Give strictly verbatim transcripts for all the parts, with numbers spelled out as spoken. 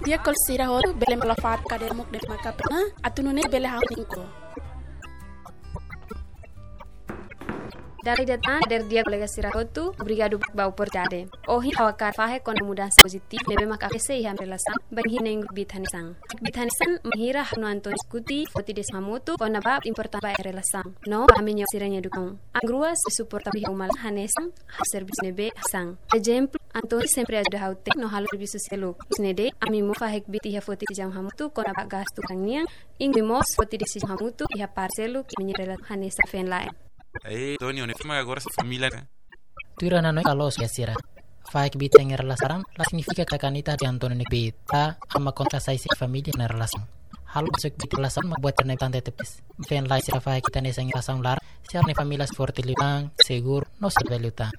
Di'ak kolega sira hotu, bele halo fatuk kadeira muk de'it maka pena, atu nune'e bele hahú ningko. Dala ida tan, dadeer di'ak kolega sira hotu, obrigadu ba oportunidade. Ohin ha'u hakarak fahe kona-ba mudansa pozitivu ne'ebé mak akontese iha ami-nia relasaun, bainhira na'in-rua kbiit hanesan. Kbiit hanesan, bainhira ha'u no António diskute, foti desizaun hamutuk kona-ba buat importante ba relasaun no ba ami-nia, sira-nia edukasaun. Ami rua sei suporta ami iha uma laran hanesan halo servisu ne'ebé hanesan. Ezemplu, António sempre ajuda ha'u tenik no halo servisu seluk. Husi ne'e de'it, ami mós fahe kbiit iha foti desizaun hamutuk kona-ba gastu kalan nian, inkluido mós foti desizaun hamutuk iha parte seluk ami-nia relasaun hanesan feen-la'en. Eh, António, ne'e fama agora sua família, né? Tuir ha'u-nia hanoin, kolega sira. Fahe kbiit iha relasaun laran la signifika katak ita husik António nia kbiit, ka ami kontra sai sira-nia família iha relasaun. Halo besok kbiit iha relasaun mak buat ne'ebé importante tebes. Feen-la'en sira fahe kbiit hanesan iha relasaun laran, sira-nia família sei forte liután, seguru, no saudavel liután.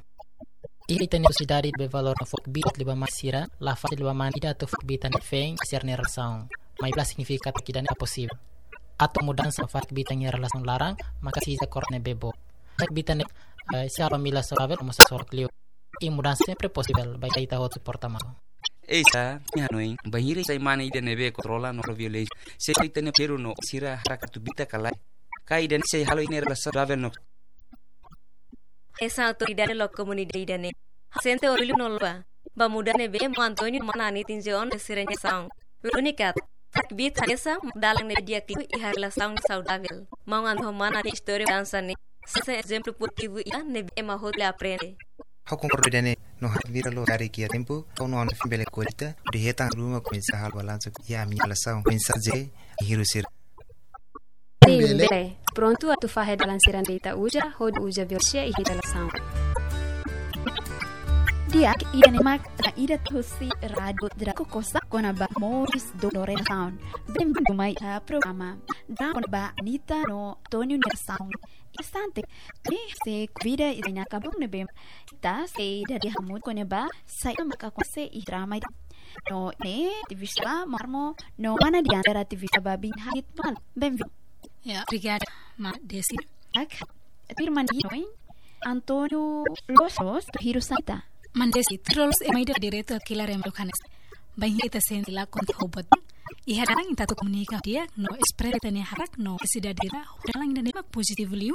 Iha ita-nia sosiedade ne'ebé valoriza fó kbiit liu ba mane sira, la fasil liu ba mane ida atu fó kbiit iha feen iha sira-nia relasaun. Maibé la signifika katak ida-ne'e la posivel. Atu mudansa fahe kbiit iha relasaun laran, maka presiza koronasaun ne'ebé boot. Fahe kbiit ne'e, eh, sei halo família saudavel, mós sai sorak liu. I mudansa sempre posivel, bainhira ita hotu suporta malu. Ei, sá, ha'u-nia hanoin, bainhira sai mane ida ne'ebé kontrola no violénsia. Se ita-nia peru no sira hakarak atu kbiit ka lae. Ka ida-ne'e sei halo ita-nia relasaun saudavel no. Hanesan autoridade loos komunidade ida-ne'e, ha'u sente orgullu no loba ba mudansa ne'ebé maun António no mana Anita injeta ona iha sira-nia relasaun. Úniku, fahe kbiit hanesan mak dalan ne'ebé di'ak liu iha relasaun saudavel. Maun António ho mana Anita nia istória mudansa ne'e sai hanesan ezemplu pozitivu ida ne'ebé ema hotu bele aprende. Ha'u konkorda ida-ne'e, no ha'u admira loos karik iha tempu, ha'u no António foin bele ko'alia, hodi hetan ruma komesa halo balansu iha ami-nia relasaun, komesa jere, iha sira. Sin, bele. Bele. Prontu atu fahe dalan sira ne'ebé ita uza, hodi uza violénsia iha relasaun. Di'ak, ida-ne'e mak ida husi Rádiu Draco Costa kona-ba moris dook no relasaun. Benvindu mai iha programa Draco kona-ba Anita no António nia relasaun. Instante, ne'e sei konvida ita-nia kaben ne'ebé ita sei dada hamutuk kona-ba saida maka akontese iha drama ida. No ne'e ativista Marmo, no mana Diana, ativista ba bin hait mal. Benvindu. Ya, obrigada, mana Desi. Ak, tuir mana nia hanoin, António loloos, loloos, hirus Anita? Mana Desi, tuir loloos ema ida direitu atu kilar ema maluk hanesan. Bainhira ita sente la kontente ho buat, iha dalan ita atu komunika di'ak no espresa ita-nia haraik no nesesidade sira, dalan ida-ne'e mak pozitivu liu,